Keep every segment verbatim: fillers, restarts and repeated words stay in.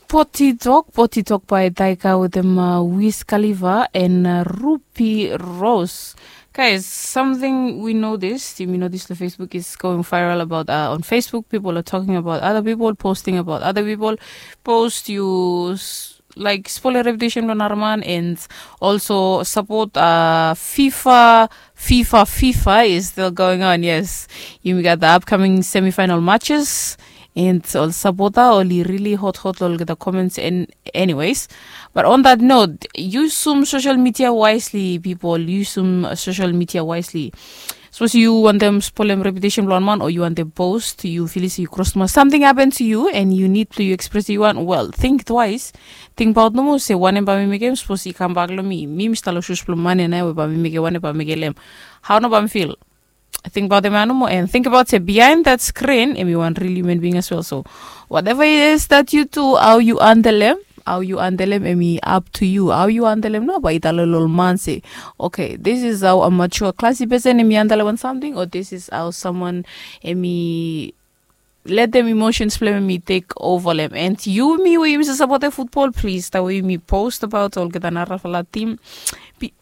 Poti Tok, Poti Tok by Daika with them uh, Wiz Khalifa and uh, Rupi Rose. Guys, something we noticed, yumi notice the Facebook is going viral about uh, on Facebook. People are talking about other people, posting about other people. Post you s- like spoil reputation lo another man and also support uh, FIFA. FIFA, FIFA is still going on. Yes, you got the upcoming semi-final matches. And ol sapota oli really hot hot lo olgeta comments and anyways. But on that note, yusum social media wisely, people. Yusum social media wisely. Sapos yu wantem spolem reputation blong wan man o yu wantem post yu filis yu kros tuma something happen to you and you need to you express yu wan well, think twice. Tingbaot nomo se wanem bai mi mekem sapos i kambak long mi mi mi stalo sus blong mane na we bai mi mekem wanem bai mi mekem lem. How no bai mi fil? Tingbaot em ya nomo and tingbaot se behind that screen em i wan real human being as well. So whatever it is that you do, how you handle em, how you handle em em i up to you. How you handle em no bai i talo lo ol man se, okay, this is how a mature classy person em i handle wan something, or this is how someone em i let them emotions blong em i take over lem. And yumi we yumi sasapote football, please, tawe yumi post about olgeta narafala team. Be,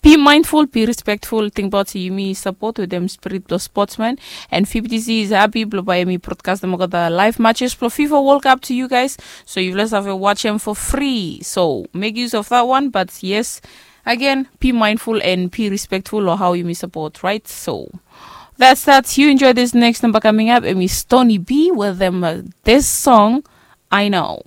be mindful, be respectful, tingbaot se yumi support with them spirit blong sportsman. And fbtc is happy blong bai yumi broadcast them olgeta live matches blong fifa world cup to you guys. So you let's have a watch them for free, so make use of that one. But yes, again, be mindful and be respectful of how yumi support, right? So that's that. You enjoy this next number coming up, em i Stony B with them uh, this song, I Know.